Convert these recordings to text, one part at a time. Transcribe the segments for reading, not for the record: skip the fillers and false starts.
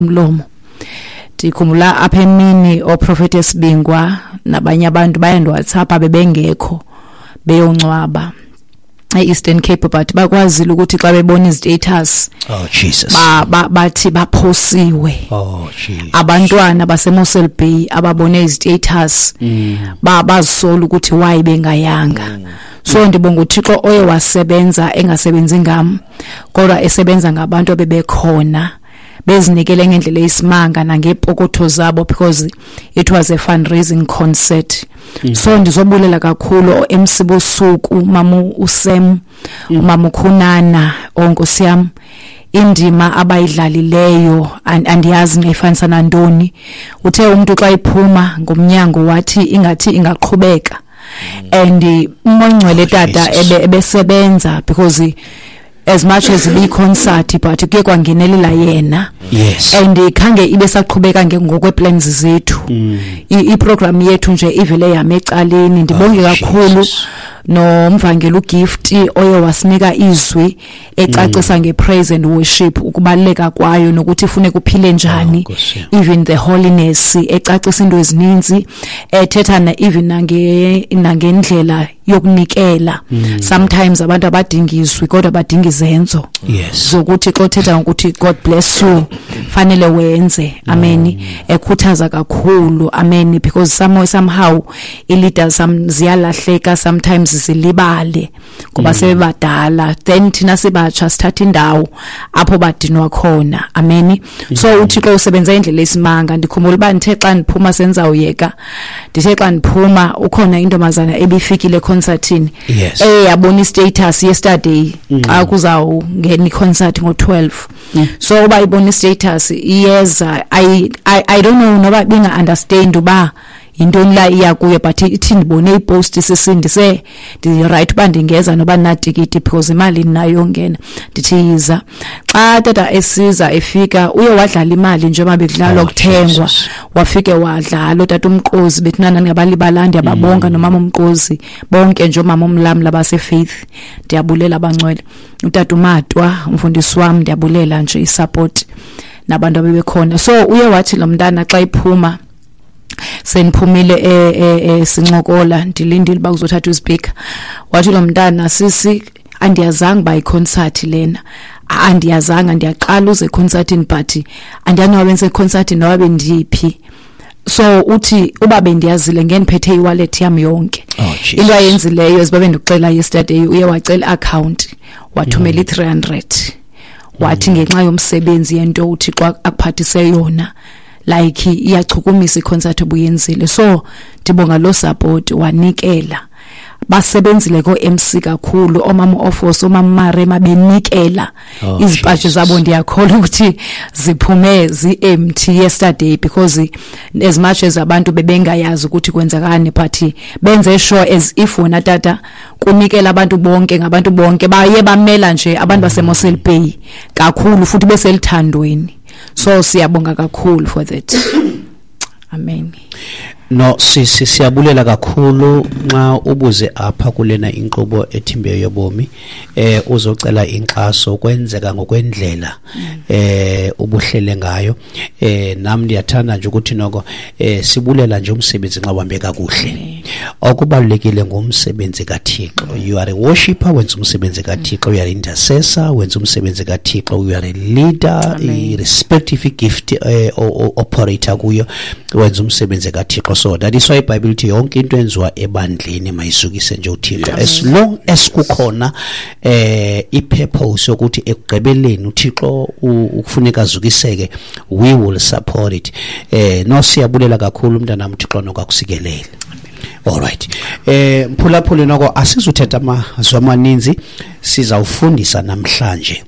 Umlomo. Ndikhumbula apha emini oprofeti esibingwa nabanye abantu bayandiWhatsApp bebengekho beyongcwaba e-Eastern Cape, but bakwazile ukuthi xa bebona izi-status, Oh Jesus. Bathi baphosiwe. Oh Jesus. Abantwana baseMossel Bay ababone izi-status bazisola ukuthi why bengayanga. So ndibonga uThixo oye wasebenza, engasebenzi ngam kodwa esebenza ngabantu abebekhona, bezinikele ngendlela eyisimanga nangeepokotho zabo, because it was a fundraising concert. So ndizobulela kakhulu o-MC bosuku, mama uSam, umama uKhunana, onkosi yam, indima abayidlalileyo andiyazi ngayifanisa nantoni. Uthe umuntu xa iphuma ngomnyango wathi ingathi ingaqhubeka, and uMongcwele tata Jesus. Ebesebenza because as much as ibi-concert, but kuye kwangenelela yena. And khange ibe saqhubeka ngokwe-plans zethu. I-program yethu nje ivele yama ecaleni. Ndibonge Oh, kakhulu Jesus. nomvangeli uGift oye wasinika izwi ecacisa nge-praise and worship, ukubaluleka kwayo nokuthi ifuneka uphile njani, Oh, Nkosi yam. even the holiness, ecacisa into ezininzi, ethetha even nangendlela yokunikela. Sometimes abantu abadinga izwi kodwa badinga izenzo zokuthi xa uthetha ngokuthi "God bless you", fanele wenze. Amen. Ekhuthaza kakhulu, amen, because somehow i-leaders ziyalahleka sometimes, zilibale ngoba sebebadala, then thina sibatsha sithatha indawo apho badinwa khona. Amen. So uThixo usebenza indlela esimanga. Ndikhumbula uba ndithe xa ndiphuma, senzawuyeka, ndithe xa ndiphuma ukhona intombazana ebifikile econcertini, eyabona i-status yesterday xa kuzawungena i-concert ngo-12. So uba ibona i-status iyeza, I don't know noba binga-understand uba yintoni la iya kuyo, but ithi, "Ndibone ipost, sisindise, ndi-right uba ndingeza noba ndinatikiti because imali ndinayo yongena." Ndithi, "Yiza." Xa tata esiza efika, uye wadlala imali njengoba bekudlalwa Oh, kuthengwa. Jesus. Wafike wadlala utata uMqozi, bethunana ndingabalibala, ndiyababonga, nomama uMqozi, bonke nje omama umlamla baseFaith, ndiyabulela abangcwele, utata uMatwa, umfundisi wam, ndiyabulela nje isupport nabantu abebekhona. So uye wathi lo mntana xa iphuma, seniphumile, sincokola, ndilindile uba kuzothathwa ispeaker, wathi lo mntana, "Sisi, andiyazanga uba iconcert lena, andiyazanga, ndiyaqala uze econcertini, but andiyazi noba bendiseconcertini noba bendiphi." So uthi uba bendiyazile ngendiphethe iwallet yam yonke. Oh, Jesus. Into ayenzileyo, ziba bendikuxela yesterday, uye wacela i-account, wathumela i-300, wathi ngenxa yomsebenzi yento uThixo akuphathise yona, like iyachukumisa iconcert obuyenzile. So ndibonga lo support, wanikela. Basebenzile ko-MC kakhulu, omama Ofos, omama Marema, benikela Oh, izipaji Jesus. zabo. Ndiyakholwa ukuthi ziphume zi-empty yesterday, because as much as abantu bebengayazi ukuthi kwenzakani, but benze sure as if wona tata kunikela abantu bonke, ngabantu bonke baye bamela nje abantu baseMossel Bay kakhulu, futhi beselithandweni. So siyabonga kakhulu for that. Amen. No, sisi, siyabulela kakhulu nxa ubuze apha kulena inkqubo ethimbeyo yobomi, uzocela inkxaso, kwenzeka ngokwendlela ubuhlele ngayo. Nam ndiyathanda nje ukuthi noko sibulela nje umsebenzi nxa uhambe kakuhle. Okubalulekile ngumsebenzi kaThixo. You are a worshipper, wenza umsebenzi kaThixo. You are intercessor, wenza umsebenzi kaThixo. You are a leader, irrespective gift operator kuyo, wenza umsebenzi kaThixo. So that is why iBhayibhile ithi yonke into enziwa ebandleni mayizukise nje uThixo, as long as kukhona ipurpose yokuthi ekugqibeleni uThixo ukufuneka azukiseke, we will support it. No, siyabulela kakhulu mntanami, uThixo nokakusikelele. Alright, mphulaphuli, noko asizuthetha amazwi amaninzi, sizawufundisa namhlanje.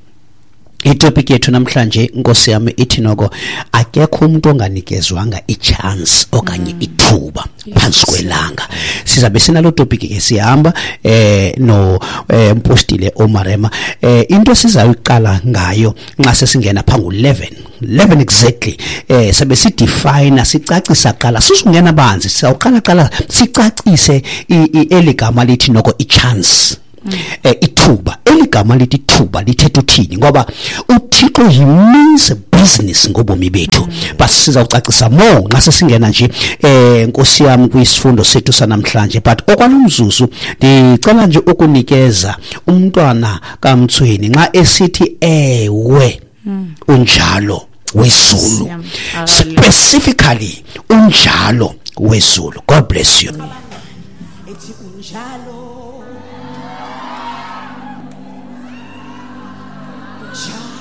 Itopic yethu namhlanje, nkosi yami, ithi noko akekho umuntu onganikezwanga ichance okanye ithuba phansi kwelanga. Sizabe sinalo topic ke, sihamba no mpostile oMarema. Into sizayiqala ngayo nxa sesingena pha ngu-11 11 exactly, sabe sidefine, sicacisa qala, sizungena banzi, sawuqala qala sicacise eligama lithi noko ichance, ithuba. Eligama lithi ithuba lithetha uthini? Ngoba uThixo, he means business ngobomi bethu. But sizawucacisa more nxa sesingena nje Nkosi yami kwisifundo sethu sanamhlanje. But okwalomzuzu ndicela nje ukunikeza umntwana kaMtsweni nxa esithi ewe unjalo wezulu, specifically unjalo wezulu. God bless you. Ethi unjalo, unjalo.